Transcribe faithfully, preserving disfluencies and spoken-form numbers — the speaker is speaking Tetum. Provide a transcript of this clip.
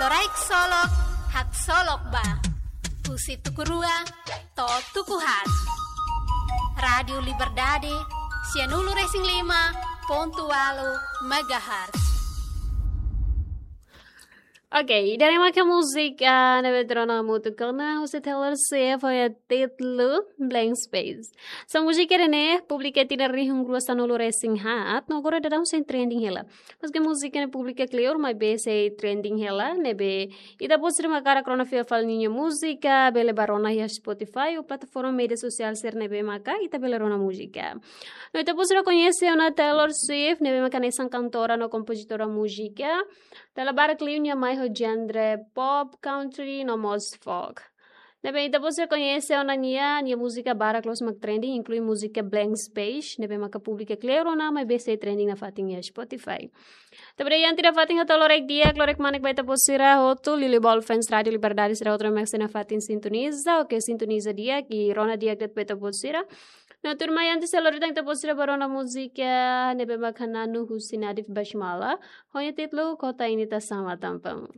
Rai ksolok, haksolok ba. Husi tuku rua to'o tuku haat. Rádiu Liberdade, sianulu-resin-lima pontu ualu megahertz. Oke, ida-ne'e maka múzika ne'ebé ita rona hamutuk ona husi Taylor Swift ho nia títulu Blank Space. Hanesan múzika ida-ne'e publika tinan rihun rua sanulu-resin-haat, no agora daudaun sei trending hela. Maske múzika ne'e publika kleur, maibé sei trending hela, ne'ebé ita-boot sira mak hakarak rona fiar fali ninia múzika, bele bá rona iha Spotify ou plataforma média sosiál sira ne'ebé maka ita bele rona múzika. No ita-boot sira koñese ona Taylor Swift, ne'ebé maka hanesan kantora no kompozitora múzika. Dala barak liu nia mai ho genre pop, country, no mós folk. Ne'ebé ita-boot sira koñese ona nia, nia múzika barak loos mak trending, inklui múzika Blank Space, ne'ebé maka publika kleur ona, maibé sei trending nafatin iha Spotify. Tanba ida-ne'e, ita-boot sira nafatin hato'o lorokraik di'ak, lorokraik manek ba ita-boot sira hotu, Lili Ball fans Rádiu Liberdade sira hotu ne'ebé mak sei nafatin sintoniza, oke, sintoniza di'ak, i rona di'ak de'it ba ita-boot sira. No tuirmai, antes selori tan ita-boot sira bá rona múzika ne'ebé maka Nanu husi Nadif Basmala, ho nia títulu Kota Ini Tak Sama Tanpamu.